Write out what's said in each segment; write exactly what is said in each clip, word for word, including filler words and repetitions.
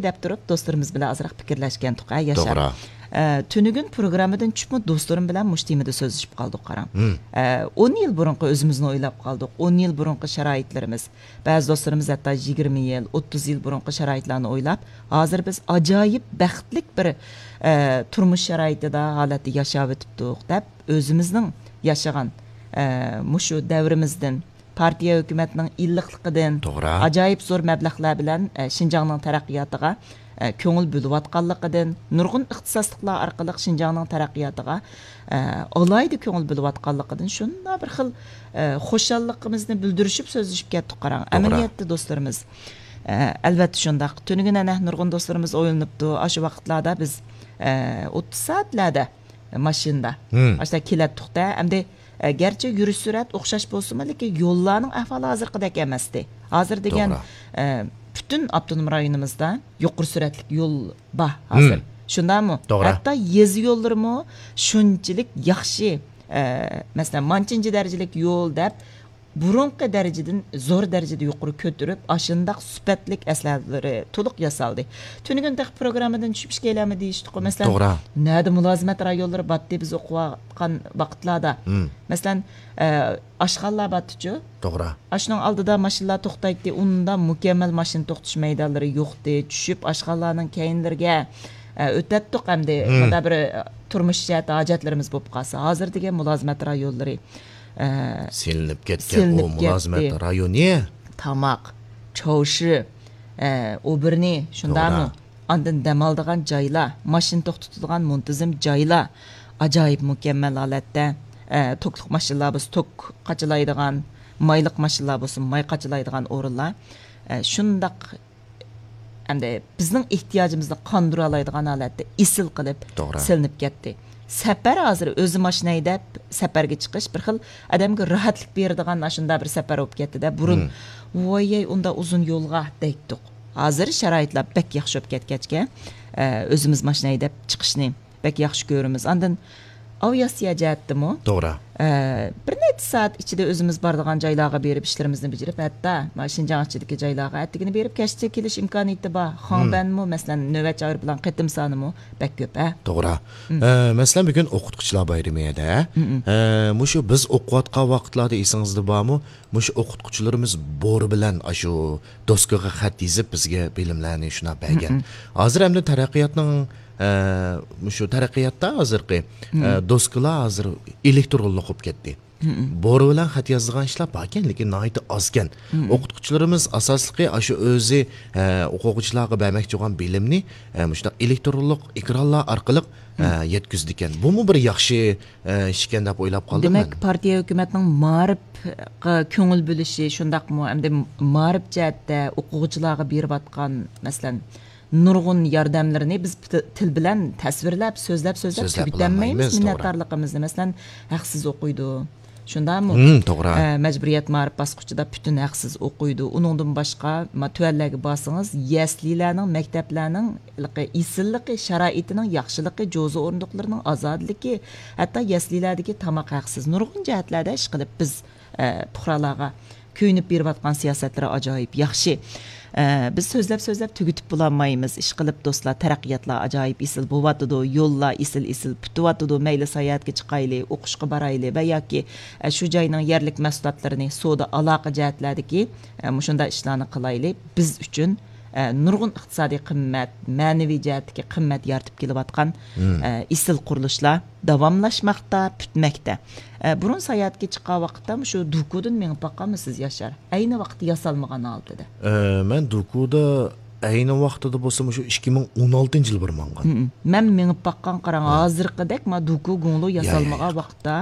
دەپ تۇرۇپ، دوستلىرىمىز بىلەن ئازراق پىكىرلەشكەنتۇق، ھە، ياشار؟ توغرا. ئە، تۈنۈگۈن پروگراممىدىن چۈشۈپمۇ دوستلىرىم بىلەن مۇشۇ تېمىدا سۆزلىشىپ قالدۇق، قاراڭ. مم. ئە، ئون يىل بۇرۇنقى ئۆزىمىزنى ئويلاپ قالدۇق. ئون يىل بۇرۇنقى شارائىتلىرىمىز. بەزى دوستلىرىمىز ھەتتا يىگىرمە يىل، ئوتتۇز يىل بۇرۇنقى شارائىتلارنى ئويلاپ، ھازىر بىز ئاجايىپ بەختلىك بىر، ئە، تۇرمۇش شارائىتىدا، ھالەتتە ياشاۋېتىپتۇق، دەپ ئۆزىمىزنىڭ ياشىغان، ئە، مۇشۇ دەۋرىمىزدىن، پارتىيە ھۆكۈمەتنىڭ ئىللىقلىقىدىن، توغرا. ئاجايىپ زور مەبلەغلەر بىلەن، ئە، شىنجاڭنىڭ تەرەققىياتىغا، ئە، كۆڭۈل بۆلۈۋاتقانلىقىدىن، نۇرغۇن ئىختىساسلىقلار ئارقىلىق شىنجاڭنىڭ تەرەققىياتىغا، ئە، ئالاھىدە كۆڭۈل بۆلۈۋاتقانلىقىدىن شۇنداق بىر خىل، ئە، خۇشاللىقىمىزنى بىلدۈرۈشۈپ سۆزلىشىپ كەتتۇق، قاراڭ. توغرا. ئەمەلىيەتتە دوستلىرىمىز، ئە، ئەلۋەتتە شۇنداق. تۈنۈگۈن ئەنە نۇرغۇن دوستلىرىمىز ئويلىنىپتۇ. ئاشۇ ۋاقىتلاردا بىز، ئە، ئوتتۇز سائەتلەردە ماشىنىدا. مم. ئاشۇنداق كېلەتتۇق-دە. ئەمدى، ئە، گەرچە يۈرۈش سۈرئەت ئوخشاش بولسىمۇ، لېكىن يوللارنىڭ ئەھۋالى ھازىرقىدەك ئەمەستى. ھازىر دېگەن، توغرا. ئە، پۈتۈن ئاپتونوم رايونىمىزدا يۇقىرى سۈرئەتلىك يول بار ھازىر. مم. شۇنداقمۇ؟ توغرا. ھەتتا يېزا يوللىرىمۇ شۇنچىلىك ياخشى، ئە، مەسىلەن، مانچىنچە دەرىجىلىك يول دەپ، بۇرۇنقى دەرىجىدىن زور دەرىجىدە يۇقىرى كۆتۈرۈپ، ئاشۇنداق سۈپەتلىك ئەسلىھەلىرى تولۇق ياسالدى. تۈنۈگۈن تېخى پروگراممىدىن چۈشۈپ ئىكەيلەنمۇ دېيىشتۇققۇ. مەسىلەن، توغرا. نەدە مۇلازىمەت رايونلىرى بارتتى، بىز ئوقۇۋاتقان ۋاقىتلاردا؟ مم. مەسىلەن، ئە، ئاشخانىلار بارتتىچۇ؟ توغرا. ئاشۇنىڭ ئالدىدا ماشىنىلار توختايتتى، ئۇندا مۇكەممەل ماشىنا توختىتىش مەيدانلىرى يوقتى. چۈشۈپ، ئاشخانىلارنىڭ كەينىلىرىگە، ئە، ئۆتەتتۇق ئەمدى. مم. مۇنداق بىر، ئە، تۇرمۇش جەھەتتە ھاجەتلىرىمىز بولۇپ قالسا. ھازىر دېگەن مۇلازىمەت رايونلىرى، ئە، سېلىنىپ كەتكەن. سېلىنىپ ئۇ مۇلازىمەت كەتتى. رايونى. تاماق، چاۋشى، ئە، ئوبېرنى، شۇنداقمۇ؟ توغرا. ئاندىن دەم ئالىدىغان جايلار، ماشىنا توختىتىدىغان مۇنتىزىم جايلار، ئاجايىپ مۇكەممەل ھالەتتە، ئە، توكلۇق ماشىنىلار بولسا توك قاچىلايدىغان، مايلىق ماشىنىلار بولسا ماي قاچىلايدىغان ئورۇنلار، ئە، شۇنداق ئەمدى بىزنىڭ ئېھتىياجىمىزنى قاندۇرالايدىغان ھالەتتە ئېسىل قىلىپ توغرا. سېلىنىپ كەتتى. سەپەر ھازىر ئۆزى ماشىنا ھەيدەپ سەپەرگە چىقىش بىر خىل ئادەمگە راھەتلىك بېرىدىغان ئاشۇنداق بىر سەپەر بولۇپ كەتتىدە. بۇرۇن، مم. ۋايەي، ئۇنداق ئۇزۇن يولغا دەيتتۇق. ھازىر شارائىتلار بەك ياخشى بولۇپ كەتكەچكە، ئە، ئۆزىمىز ماشىنا ھەيدەپ چىقىشنى بەك ياخشى كۆرىمىز. ئاندىن ئاۋىئاتسىيە جەھەتتىمۇ، توغرا. ئە، بىر نەچچە سائەت ئىچىدە ئۆزىمىز بارىدىغان جايلارغا بېرىپ ئىشلىرىمىزنى بېجىرىپ، ھەتتا مانا شىنجاڭ ئىچىدىكى جايلارغا ئەتىگىنى بېرىپ، كەچتە كېلىش ئىمكانىيىتى بار. مم. خاڭبەنمۇ، مەسىلەن، نۆۋەتچى ئايروپىلان قېتىم سانىمۇ بەك كۆپ، ھە؟ توغرا. مم. ئە، مەسىلەن، بۈگۈن ئوقۇتقۇچىلار بايرىمى ھەدە. مم. ئە، مۇشۇ بىز ئوقۇۋاتقان ۋاقىتلاردا ئېسىڭىزدە بارمۇ؟ مۇشۇ ئوقۇتقۇچىلىرىمىز بورا بىلەن ئاشۇ دوسكىغا خەت يېزىپ، بىزگە بىلىملەرنى شۇنداق بەرگەن. مم. ھازىر ئەمدى تەرەققىياتنىڭ، ئە، مۇشۇ تەرەققىياتتا ھازىرقى، ئە، مم. دوسكىلار ھازىر ئېلېكترونلۇق بولۇپ كەتتى. مم. بورا بىلەن خەت يازىدىغان ئىشلار باركەن، لېكىن ناھايىتى ئازكەن. مم. ئوقۇتقۇچىلىرىمىز ئاساسلىقى ئاشۇ ئۆزى، ئە، ئوقۇغۇچىلارغا بەرمەكچى بولغان بىلىمنى، ئە، مۇشۇنداق ئېلېكترونلۇق ئېكرانلار ئارقىلىق، ئە، مم. يەتكۈزىدىكەن. بۇمۇ بىر ياخشى ئىش ئىكەن دەپ ئويلاپ قالدىم دېمەك، مەن. پارتىيە ھۆكۈمەتنىڭ مائارىپقا كۆڭۈل بۆلۈشى شۇنداقمۇ؟ ئەمدى مائارىپ جەھەتتە ئوقۇغۇچىلارغا بېرىۋاتقان، مەسىلەن، نۇرغۇن ياردەملىرىنى بىز تىل بىلەن تەسۋىرلەپ، سۆزلەپ، سۆزلەپ سۆزلەپ تۈگىتەلمەيمىز بولالمايمىز، توغرا. مىننەتدارلىقىمىزنى. مەسىلەن، ھەقسىز ئوقۇيدۇ. شۇنداقمۇ؟ ھىم، توغرا. ئە، مەجبۇرىيەت مائارىپ باسقۇچىدا پۈتۈن ھەقسىز ئوقۇيدۇ. ئۇنىڭدىن باشقا، ما، تۆۋەنلەرگە بارسىڭىز، يەسلىلەرنىڭ، مەكتەپلەرنىڭ ھېلىقى ئېسىللىقى، شارائىتىنىڭ ياخشىلىقى، جوزا ئورۇندۇقلىرىنىڭ ئازادىلىكى، ھەتتا يەسلىلەردىكى تاماق ھەقسىز. نۇرغۇن جەھەتلەردە ئىشقىلىپ بىز، ئە، پۇقرالارغا كۆيۈنۈپ بېرىۋاتقان سىياسەتلىرى ئاجايىپ ياخشى. ئە، بىز سۆزلەپ، سۆزلەپ تۈگىتىپ بولالمايمىز. ئىشقىلىپ دوستلار، تەرەققىياتلار ئاجايىپ ئېسىل بولۇۋاتىدۇ، يوللار ئېسىل، ئېسىل پۈتۈۋاتىدۇ. مەيلى ساياھەتكە چىقايلى، ئوقۇشقا بارايلى ۋە ياكى، ئە، شۇ جاينىڭ يەرلىك مەھسۇلاتلىرىنى سودا ئالاقە جەھەتلەردىكى، ئە، مۇشۇنداق ئىشلارنى قىلايلى. بىز ئۈچۈن ئە، نۇرغۇن ئىقتىسادىي قىممەت، مەنىۋى جەھەتتىكى قىممەت يارىتىپ كېلىۋاتقان، مم. ئە، ئېسىل قۇرۇلۇشلار داۋاملاشماقتا، پۈتمەكتە. ئە، بۇرۇن ساياھەتكە چىققان ۋاقىتتا مۇشۇ دۇكۇدىن مېڭىپ باققانمۇ سىز، ياشار؟ ئەينى ۋاقىتتا ياسالمىغان ھالىتىدە. ئە، مەن دۇكۇدا ئەينى ۋاقتىدا بولسا مۇشۇ ئىككى مىڭ ئون ئالتىنچى يىل بىر ماڭغان. مم. مەن مېڭىپ باققان، قاراڭ، ھە. ھازىرقىدەك ما دۇكۇ گۇڭلۇ يا، يا، ياسالمىغان يا. ۋاقىتتا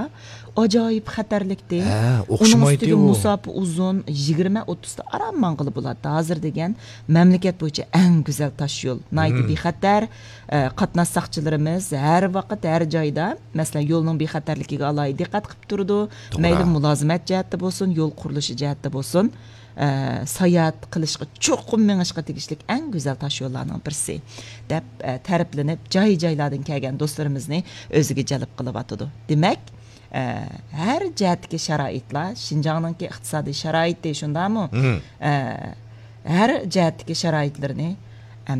ئاجايىپ خەتەرلىكتى. ھە، ئۇنىڭ ئوخشىمايتتى ئۈستىگە ئۇ. مۇساپە ئۇزۇن، يىگىرمە ئوتتۇزدا ئاران ماڭغىلى بولاتتى. ھازىر دېگەن مەملىكەت بويىچە ئەڭ گۈزەل تاش يول. ناھايىتى مم. بىخەتەر. ئە، قاتناش ساقچىلىرىمىز ھەر ۋاقىت، ھەر جايدا، مەسىلەن، يولنىڭ بىخەتەرلىكىگە ئالاھىدە دىققەت قىلىپ تۇرىدۇ. توغرا. مەيلى مۇلازىمەت جەھەتتە بولسۇن، يول قۇرۇلۇشى جەھەتتە بولسۇن، ئە، ساياھەت قىلىشقا، چوقۇم مېڭىشقا تېگىشلىك ئەڭ گۈزەل تاش يوللارنىڭ بىرسى، دەپ، ئە، تەرىپلىنىپ، جاي-جايلاردىن كەلگەن دوستلىرىمىزنى ئۆزىگە جەلپ قىلىۋاتىدۇ. دېمەك، ئە، ھەر جەھەتتىكى شارائىتلار، شىنجاڭنىڭكى ئىقتىسادىي شارائىتى، شۇنداقمۇ؟ مم. ئە، ھەر جەھەتتىكى شارائىتلىرىنى